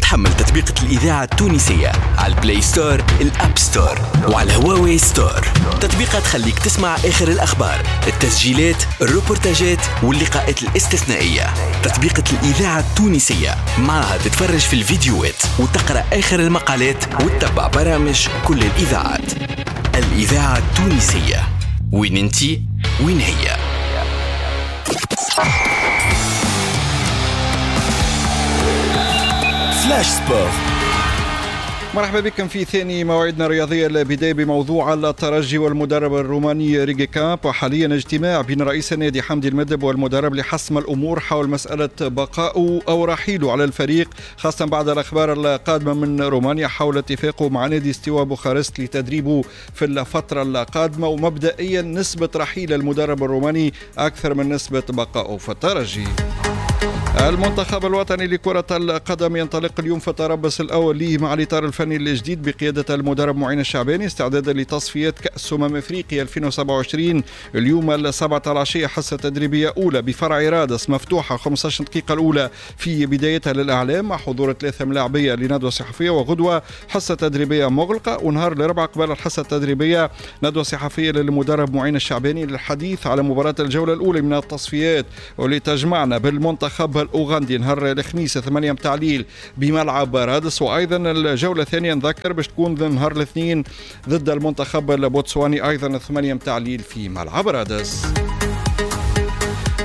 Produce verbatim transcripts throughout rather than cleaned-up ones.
تحمل تطبيقة الإذاعة التونسية على ال Play Store، ال App Store وعلى هواوي Store. تطبيقة تخليك تسمع آخر الأخبار، التسجيلات، الروبورتاجات واللقاءات الاستثنائية. تطبيقة الإذاعة التونسية معها تتفرج في الفيديوهات وتقرأ آخر المقالات وتتبع برامج كل الإذاعات. الإذاعة التونسية، وين انتي وين هي. Flash Sport. مرحبا بكم في ثاني موعدنا الرياضية. البداية بموضوع الترجي والمدرب الروماني ريجي كامب، وحاليا اجتماع بين رئيس النادي حمدي المدب والمدرب لحسم الأمور حول مسألة بقائه أو رحيله على الفريق، خاصة بعد الأخبار القادمة من رومانيا حول اتفاقه مع نادي ستيوا بوخارست لتدريبه في الفترة القادمة. ومبدئيا نسبة رحيل المدرب الروماني أكثر من نسبة بقائه في الترجي. المنتخب الوطني لكرة القدم ينطلق اليوم في التربص الأول ليه مع الإطار الفني الجديد بقيادة المدرب معين الشعباني استعدادا لتصفيات كأس أمم أفريقيا ألفين وسبعة وعشرين. اليوم السبعة العشية حصة تدريبية أولى بفرع رادس مفتوحة خمسة عشر دقيقة الأولى في بدايتها للإعلام مع حضور ثلاثة ملاعبية لندوة صحفية، وغدوة حصة تدريبية مغلقة، ونهار الأربعاء قبل الحصة التدريبية ندوة صحفية للمدرب معين الشعباني للحديث على مباراة الجولة الأولى من التصفيات واللي تجمعنا بالمنتخب الأوغندي نهار الخميس ثمانية متاع الليل بملعب رادس. وأيضا الجولة الثانية نذكر باش تكون نهار الاثنين ضد المنتخب البوتسواني أيضا ثمانية متاع الليل في ملعب رادس.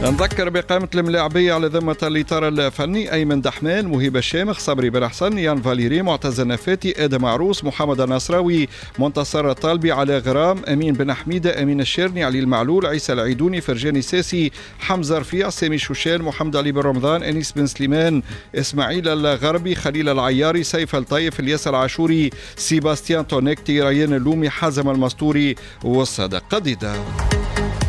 نذكر بقائمة الملاعبية على ذمة الإطار الفني: أيمن دحمان، مهيب الشامخ، صبري بن حسن، يان فاليري، معتز النفاتي، آدم عروس، محمد النصراوي، منتصر الطالبي، على غرام، أمين بن حميدة، أمين الشيرني، علي المعلول، عيسى العيدوني، فرجاني ساسي، حمزة رفيع، سامي شوشان، محمد علي بن رمضان، أنيس بن سليمان، إسماعيل الغربي، خليل العياري، سيف الطيف، الياس العاشوري، سيباستيان تونكتي، ريان اللومي، حازم المستوري، والصادق قديدة.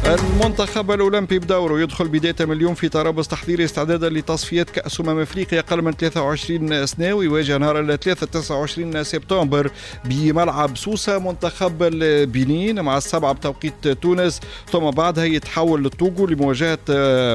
المنتخب الأولمبي بدوره يدخل بداية من اليوم في ترابص تحضيري استعدادا لتصفيات كأس أمم أفريقيا أقل من ثلاثة وعشرين سنة، ويواجه نهار الثلاثاء تسعة وعشرين سبتمبر بملعب سوسة منتخب البنين مع السبعة بتوقيت تونس، ثم بعدها يتحول للطوغو لمواجهة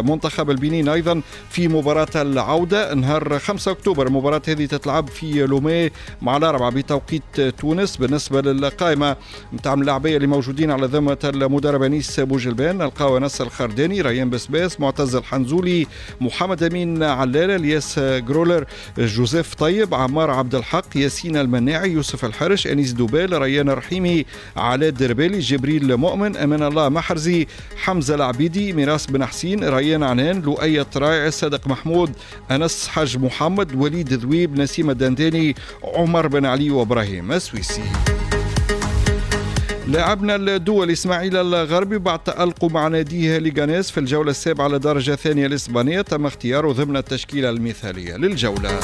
منتخب البنين أيضا في مباراة العودة نهار خمسة أكتوبر. المباراة هذه تتلعب في لومي مع الأربعة بتوقيت تونس. بالنسبة للقائمة نتاع اللاعبية اللي موجودين على ذمة المدرب أنيس بوجلبان نلقاو أنس الخرداني، ريان بسباس، معتز الحنزولي، محمد أمين علالة، الياس جرولر، جوزيف طيب، عمار عبد الحق، ياسين المناعي، يوسف الحرش، أنيس دوبال، ريان الرحيمي، علاء الدربالي، جبريل مؤمن، أمان الله محرزي، حمزة العبيدي، ميراس بن حسين، ريان عنان، لؤي الطرايع، صادق محمود، أنس حاج محمد، وليد ذويب، نسيم الدنداني، عمر بن علي، وإبراهيم السويسي. لاعبنا الدولي إسماعيل الغربي بعد تألقه مع ناديه ليغانيس في الجولة السابعة على درجة ثانية الإسبانية تم اختياره ضمن التشكيلة المثالية للجولة.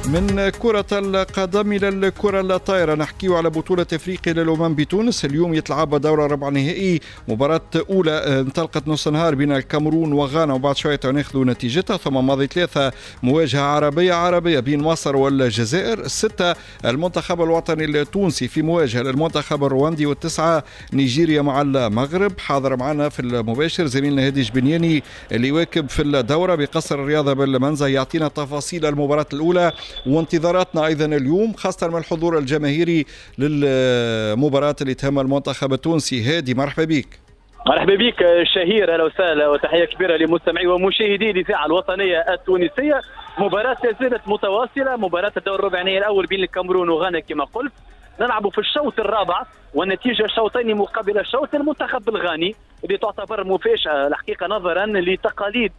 من كرة القدم إلى الكرة الطائرة نحكيه على بطولة أفريقيا للأمم بتونس. اليوم يتلعب دورة ربع نهائي، مباراة أولى انطلقت نص نهار بين الكاميرون وغانا وبعد شوية ناخذ نتيجتها، ثم ماضي ثلاثة مواجهة عربية عربية بين مصر والجزائر، الستة المنتخب الوطني التونسي في مواجهة للمنتخب الرواندي، والتسعة نيجيريا مع المغرب. حاضر معنا في المباشر زميلنا هادي جبنياني اللي يواكب في الدورة بقصر الرياضة بالمنزه، يعطينا تفاصيل المباراة الأولى وانتظاراتنا أيضا اليوم خاصة من الحضور الجماهيري للمباراة اللي تهم المنتخب التونسي. هادي مرحبا بك. مرحبا بك شهير، أهلا وسهلا وتحية كبيرة لمستمعي ومشاهدي الإذاعة الوطنية التونسية. مباراة لا زالت متواصلة، مباراة الدور الربع النهائي الأول بين الكاميرون وغانا كما قلت، نلعب في الشوط الرابع والنتيجة شوطين مقابل شوط. المنتخب الغاني اللي تعتبر مفاجأة الحقيقة نظرا لتقاليد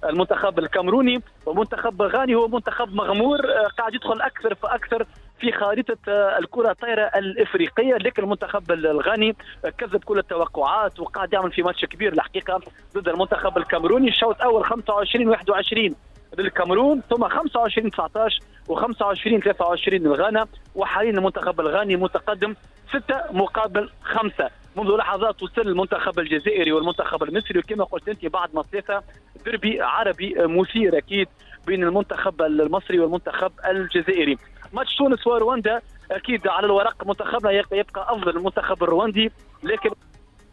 المنتخب الكاميروني، ومنتخب غاني هو منتخب مغمور قاعد يدخل أكثر فأكثر في خارطة الكرة الطايرة الإفريقية، لكن المنتخب الغاني كذب كل التوقعات وقاعد يعمل في ماتش كبير الحقيقة ضد المنتخب الكاميروني. الشوط الأول خمسة وعشرين واحد وعشرين للكاميرون، ثم خمسة وعشرين تسعة عشر وخمسة وعشرين ثلاثة وعشرين للغانا، وحاليا المنتخب الغاني متقدم ستة مقابل خمسة. منذ لحظات وصل المنتخب الجزائري والمنتخب المصري، وكما قلت انت بعد ما ثلاثة دربي عربي مثير اكيد بين المنتخب المصري والمنتخب الجزائري. ماتش تونس ورواندا اكيد على الورق منتخبنا يبقى افضل المنتخب الرواندي، لكن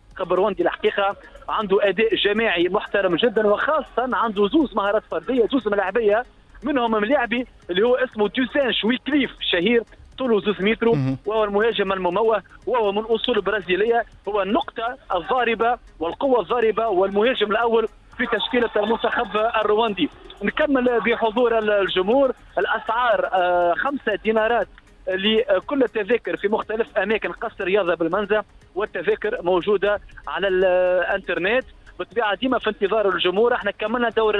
المنتخب الرواندي الحقيقة عنده اداء جماعي محترم جدا، وخاصة عنده زوز مهارات فردية، زوز ملاعبيه منهم ملاعبي اللي هو اسمه دوسان شويكليف شهير، طوله زوز متر، وهو المهاجم المموه، وهو من اصول برازيليه، هو النقطة الضاربة والقوه الضاربة والمهاجم الاول في تشكيله المنتخب الرواندي. نكمل بحضور الجمهور. الاسعار خمسة دينارات لكل التذاكر في مختلف اماكن قصر الرياضة بالمنزه، والتذاكر موجودة على الانترنت. بالطبيعة ديما في انتظار الجمهور. احنا كملنا دور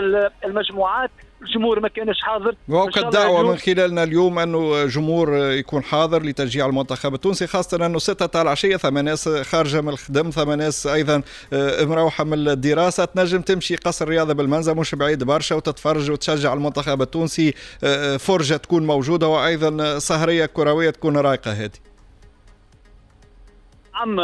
المجموعات، الجمهور ما كانش حاضر، وقد دعوة من خلالنا اليوم انه جمهور يكون حاضر لتشجيع المنتخب التونسي، خاصة انه ستة تاع العشية ثم ناس خارجة من الخدم، ثم ناس ايضا مروحة من الدراسة، تنجم تمشي قصر الرياضة بالمنزه مش بعيد برشا وتتفرج وتشجع المنتخب التونسي. فرجة تكون موجودة وايضا سهرية كروية تكون رايقة. هذه نعم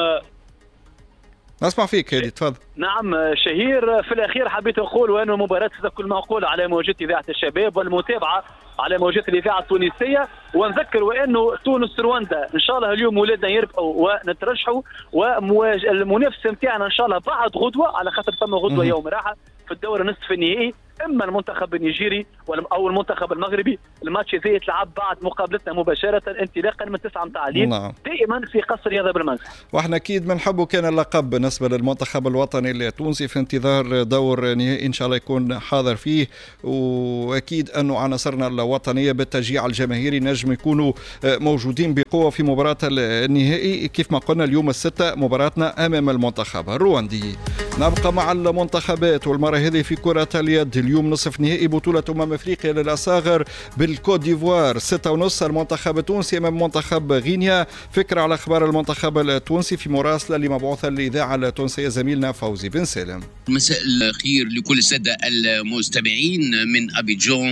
نسمع فيك هادي، تفضل. نعم شهير، في الاخير حبيت نقول وانه مباراة ستكون معقولة على موجات اذاعة الشباب والمتابعة على موجات الاذاعة التونسية، ونذكر وانه تونس رواندا ان شاء الله اليوم ولادنا يربحوا ونترشحوا، والمنافسه نتاعنا ان شاء الله بعد غدوه، على خاطر ثم غدوه يوم راحة في الدور النصف النهائي، اما المنتخب النيجيري او المنتخب المغربي. الماتش هذا يتلعب بعد مقابلتنا مباشرة انطلاقا من تسعة متاع الليل دائما في قصر رياضة بالمنزه. واحنا اكيد بنحبوا كان اللقب بالنسبة للمنتخب الوطني التونسي في انتظار دور نهائي ان شاء الله يكون حاضر فيه، واكيد انه عناصرنا الوطنية بالتشجيع الجماهيري نجم يكونوا موجودين بقوة في مباراة النهائي. كيف ما قلنا اليوم الستة مباراتنا امام المنتخب الرواندي. نبقى مع المنتخبات والمرة هذه في كره اليد. اليوم نصف نهائي بطولة أمم أفريقيا للأصاغر بالكوت ديفوار، ستة ونص المنتخب التونسي أمام منتخب غينيا. فكرة على أخبار المنتخب التونسي في مراسلة لمبعوثة الإذاعة التونسية زميلنا فوزي بن سالم. مساء الخير لكل السادة المستمعين من أبيجان.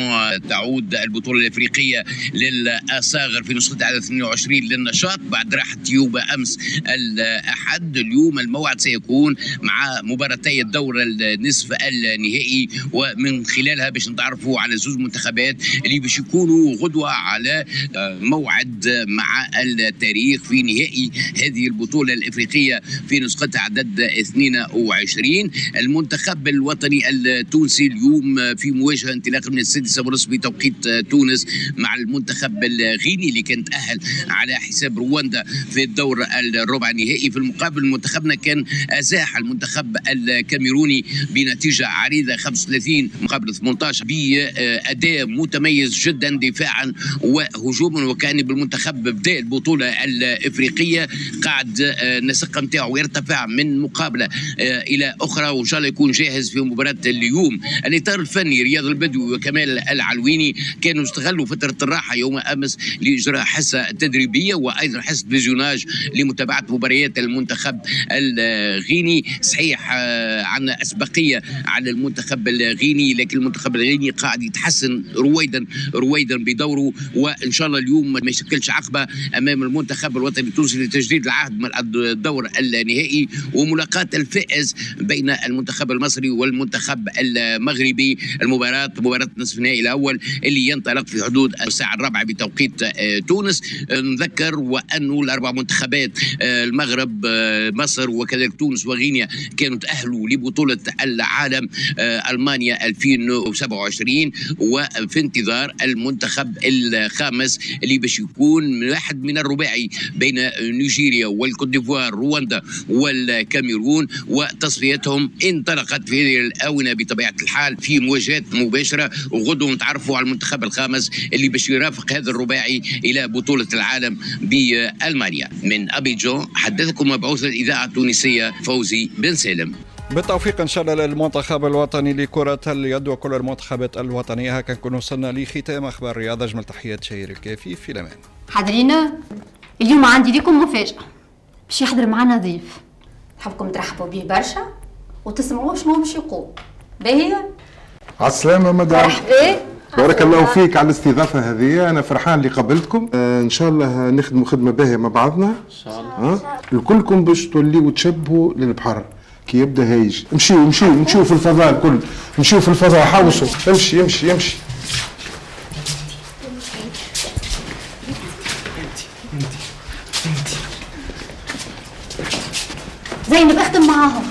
تعود البطولة الأفريقية للأصاغر في نسختها على اثنين وعشرين للنشاط بعد راحة يوبا أمس الأحد. اليوم الموعد سيكون مع مباراتي الدور النصف النهائي، ومن خلالها باش نتعرفوا على زوج منتخبات اللي باش يكونوا غدوة على موعد مع التاريخ في نهائي هذه البطولة الإفريقية في نسختها عدد اثنين وعشرين. المنتخب الوطني التونسي اليوم في مواجهة انطلاقا من السادسة ونصف بتوقيت تونس مع المنتخب الغيني اللي كان تأهل على حساب رواندا في الدور الربع النهائي. في المقابل منتخبنا كان أزاح المنتخب الكاميروني بنتيجة عريضة خمسة وثلاثين مقابل ثمانية عشر بأداء متميز جدا دفاعا وهجوما، وكان بالمنتخب بدأ البطولة الإفريقية قاعد النسق نتاعو يرتفع من مقابلة إلى أخرى، وإن شاء الله يكون جاهز في مباراة اليوم. الإطار الفني رياض البدوي وكمال العلويني كانوا استغلوا فترة الراحة يوم أمس لإجراء حصة تدريبية وأيضا حصة visionnage لمتابعة مباريات المنتخب الغيني. صحيح عندنا أسبقية على المنتخب الغيني، لكن المنتخب الغيني قاعد يتحسن رويدا رويدا بدوره، وان شاء الله اليوم ما يشكلش عقبه امام المنتخب الوطني التونسي لتجديد العهد من الدور النهائي وملاقاه الفائز بين المنتخب المصري والمنتخب المغربي. المباراة مباراة نصف النهائي الاول اللي ينطلق في حدود الساعة الرابعة بتوقيت تونس. نذكر وانه الاربع منتخبات المغرب، مصر، وكذلك تونس وغينيا كانوا تاهلوا لبطولة العالم المانيا ألفين وسبعة وعشرين، وفي انتظار المنتخب الخامس اللي باش يكون واحد من الرباعي بين نيجيريا والكوت ديفوار، رواندا والكاميرون، وتصفيتهم انطلقت في هذه الآونة بطبيعة الحال في مواجهات مباشرة. وغدوا نتعرفوا على المنتخب الخامس اللي باش يرافق هذا الرباعي إلى بطولة العالم بألمانيا. من أبيجان حدثكم مبعوث الإذاعة التونسية فوزي بن سالم. بالتوفيق ان شاء الله للمنتخب الوطني لكرة اليد وكل المنتخبات الوطنية. هكا نكون وصلنا لختام اخبار الرياضة. اجمل تحيات شهير الكافي في الامان. حاضرين اليوم عندي لكم مفاجأة، باش يحضر معنا ضيف نحبكم ترحبوا به برشا وتسمعوه شنو باش يقول. باهي على السلامة مدام. مرحبا، بارك الله فيك على الاستضافة هذه، أنا فرحان اللي قابلتكم. آه إن شاء الله نخدموا خدمة باهية مع بعضنا إن شاء الله. الكلكم باش توليوا تشبهوا للبحر كي يبدا هايج. امشيو امشيو امشيو في الفضاء الكل، امشيو في الفضاء، حوصوا، امشي امشي امشي. انت انت انت زينب اخدم معاهم.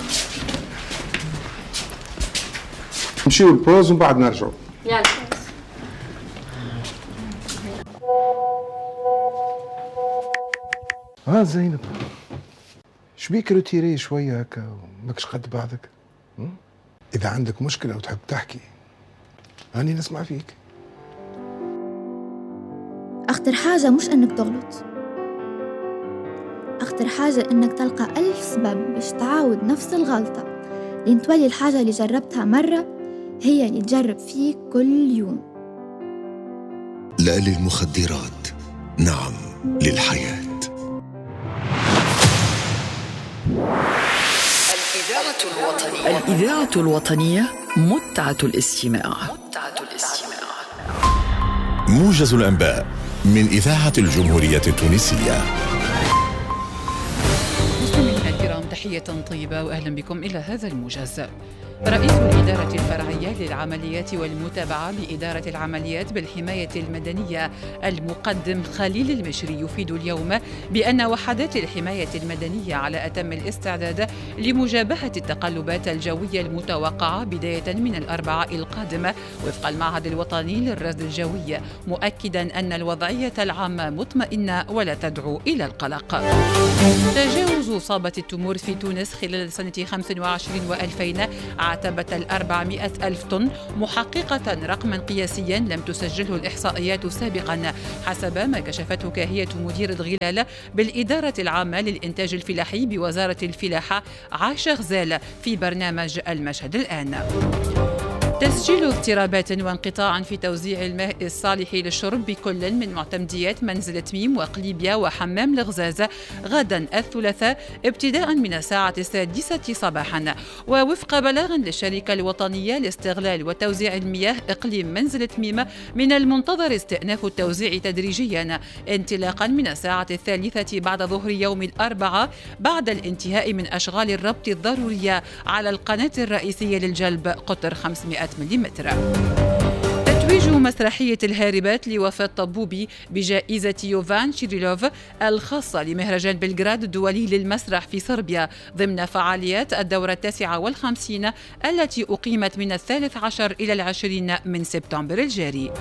نمشيو ال pause ومن بعد نرجعوا. يلا. ها زينب، شبيك retirée شوية هكا وماكش قد بعضك؟ اذا عندك مشكلة وتحب تحكي هاني نسمع فيك. أخطر حاجة مش أنك تغلط، أخطر حاجة أنك تلقى ألف سبب باش تعاود نفس الغلطة، لين تولي الحاجة اللي جربتها مرة هي اللي تجرب فيك كل يوم. لا للمخدرات، نعم للحياة. الإذاعة الوطنية، الإذاعة الوطنية متعة الاستماع. متعة الاستماع. موجز الأنباء من إذاعة الجمهورية التونسية. مستمعينا الكرام، تحية طيبة وأهلا بكم إلى هذا الموجز. رئيس الإدارة الفرعية للعمليات والمتابعة بإدارة العمليات بالحماية المدنية المقدم خليل المشري يفيد اليوم بأن وحدات الحماية المدنية على أتم الاستعداد لمجابهة التقلبات الجوية المتوقعة بداية من الأربعاء القادم وفق المعهد الوطني للرصد الجوي، مؤكدا أن الوضعية العامة مطمئنة ولا تدعو إلى القلق. تجاوز إصابة التمور في تونس خلال سنة خمسة وعشرين وألفين عتبة الأربعمائة ألف طن، محققة رقما قياسيا لم تسجله الإحصائيات سابقا، حسب ما كشفته كاهية مدير الغلال بالإدارة العامة للإنتاج الفلاحي بوزارة الفلاحة عاشة غزال في برنامج المشهد الآن. تسجيل اضطرابات وانقطاع في توزيع الماء الصالح للشرب بكل من معتمديات منزل تميم وقليبيا وحمام الغزاز غدا الثلاثاء ابتداء من الساعة السادسة صباحا، ووفق بلاغ للشركة الوطنية لاستغلال وتوزيع المياه إقليم منزل تميم من المنتظر استئناف التوزيع تدريجيا انطلاقا من الساعة الثالثة بعد ظهر يوم الأربعاء بعد الانتهاء من أشغال الربط الضرورية على القناة الرئيسية للجلب قطر خمسمائة مليمتر. تتويج مسرحية الهاربات لوفاة طبوبي بجائزة يوفان شيريلوف الخاصة لمهرجان بلغراد الدولي للمسرح في صربيا ضمن فعاليات الدورة التاسعة والخمسين التي أقيمت من الثالث عشر إلى العشرين من سبتمبر الجاري.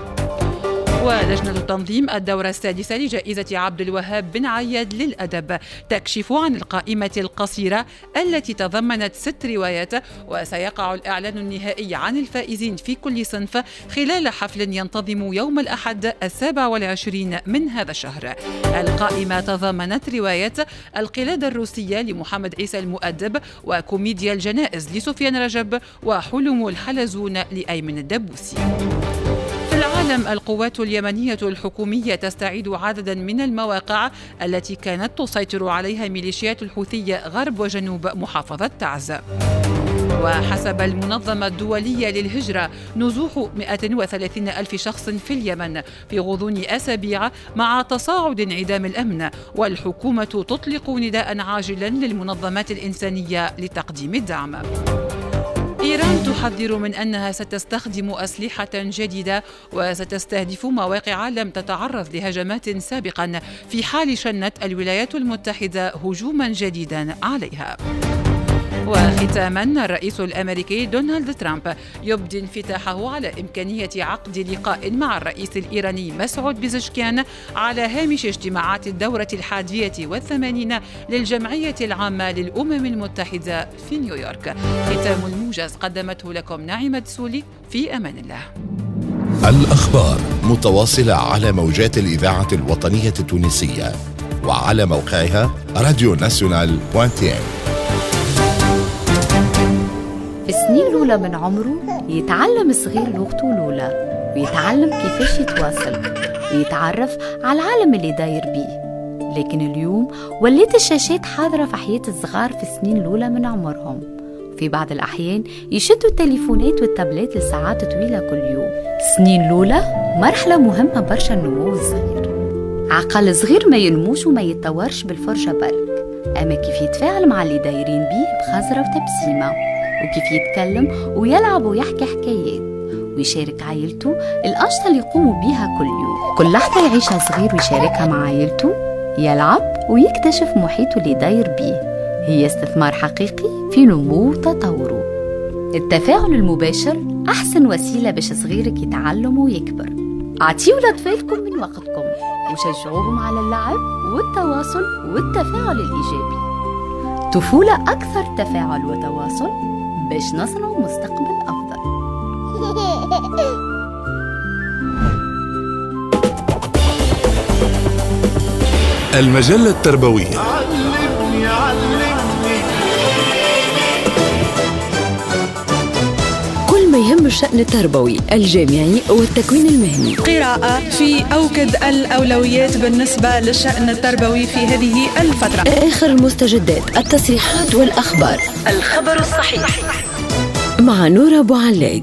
ولجنة تنظيم الدورة السادسة لجائزة عبد الوهاب بن عياد للأدب تكشف عن القائمة القصيرة التي تضمنت ست روايات، وسيقع الإعلان النهائي عن الفائزين في كل صنف خلال حفل ينتظم يوم الأحد السابع والعشرين من هذا الشهر. القائمة تضمنت رواية القلادة الروسية لمحمد عيسى المؤدب، وكوميديا الجنائز لسفيان رجب، وحلم الحلزون لأيمن الدبوسي. في العالم، القوات اليمنية الحكومية تستعيد عددا من المواقع التي كانت تسيطر عليها ميليشيات الحوثية غرب وجنوب محافظة تعز. وحسب المنظمة الدولية للهجرة نزوح مئة وثلاثين ألف شخص في اليمن في غضون أسابيع مع تصاعد انعدام الأمن، والحكومة تطلق نداء عاجلا للمنظمات الإنسانية لتقديم الدعم. إيران تحذر من أنها ستستخدم أسلحة جديدة وستستهدف مواقع لم تتعرض لهجمات سابقا في حال شنت الولايات المتحدة هجوما جديدا عليها. وختاما، الرئيس الأمريكي دونالد ترامب يبدي انفتاحه على إمكانية عقد لقاء مع الرئيس الإيراني مسعود بزشكيان على هامش اجتماعات الدورة الحادية والثمانين للجمعية العامة للأمم المتحدة في نيويورك. ختام الموجز قدمته لكم ناعمة سولي، في أمان الله. الأخبار متواصلة على موجات الإذاعة الوطنية التونسية وعلى موقعها راديو ناسيونال point tn. في السنين الأولى من عمره يتعلم الصغير لغته الأولى، ويتعلم كيفاش يتواصل، ويتعرف على العالم اللي داير بيه. لكن اليوم ولات الشاشات حاضرة في حياة الصغار في السنين الأولى من عمرهم. في بعض الأحيان يشدوا التليفونات والتابلات لساعات طويلة كل يوم. السنين الأولى مرحلة مهمة برشا النمو الصغير. عقل صغير ما ينموش وما يتطورش بالفرجة برك، أما كيف يتفاعل مع اللي دايرين بيه بخزرة وتبسيمة، وكيف يتكلم ويلعب ويحكي حكايات ويشارك عائلته الأنشطة اللي يقوموا بيها كل يوم. كل لحظة يعيشها صغير ويشاركها مع عائلته، يلعب ويكتشف محيطه اللي داير بيه، هي استثمار حقيقي في نمو وتطوره. التفاعل المباشر أحسن وسيلة باش صغيرك يتعلم ويكبر. أعطيوا لأطفالكم من وقتكم وشجعوهم على اللعب والتواصل والتفاعل الإيجابي. طفولة أكثر تفاعل وتواصل باش نصنع مستقبل أفضل. المجلة التربوية. علمني علمني كل ما يهم الشأن التربوي الجامعي والتكوين المهني. قراءة في أوكد الأولويات بالنسبة للشأن التربوي في هذه الفترة. آخر المستجدات، التصريحات والأخبار. الخبر الصحيح مع نورة بوعلاق.